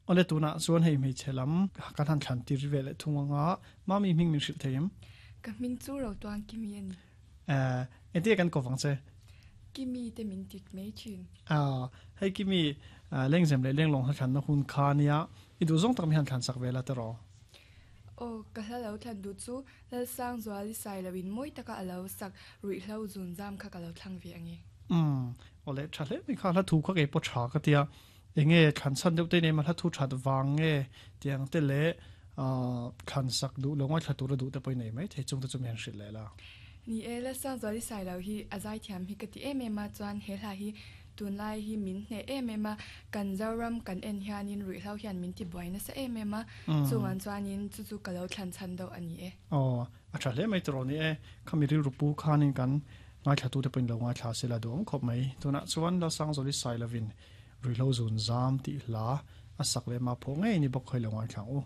Awle tunah chuan hei hmeichhe lam kan han thlan tir ve leh thung anga Mami hming min hrilh thei em? Ka hming chu Rotuang Kimi a ni. Eh, engtin nge kan kawp ang che? Kimi te min tit mai thin. Ah, hei Kimi, Lengzem leh Lenglawng hla thlanna hun kha nia, i duh zawng tak mi han thlan sak ve la tiraw? Aw, ka hla lo thlan duh chu Lalsangzuali Sailoin mawi taka a lo sak ruihhlo zun zam kha ka lo thlang ve ange. Umm, awle tha hle mai kha, hla thu kha kei pawh tha ka tia, enge thlan chhan deuh te nei ma hla thu that vang nge tiang te leh thlan sak duh lo ngaithla tura duh te pawh i nei mai thei chung te chu mi han hrilh leh la. Ni e, Lalsangzuali Sailo hi a zaithiam hi ka ti em em a, chuan he hla hi Tunlai hi min hneh em em a, kan Zoram kan en hianin ruihhlo hian min tibuai nasa em em a, chungah chuanin chu chu ka lo thlan chhan deuh a ni e. Aw, a tha hle mai tawh ni e. Khami rilru pu khanin kan ngaithlatute pawhin lo ngaithla se la duhawm khawp mai. Tunah chuan Lalsangzawli Sailovin Ruihhlo Zun Zam tih hla a sak leh mah phawh ngei ni bawk kha i lo ngaithla ang u.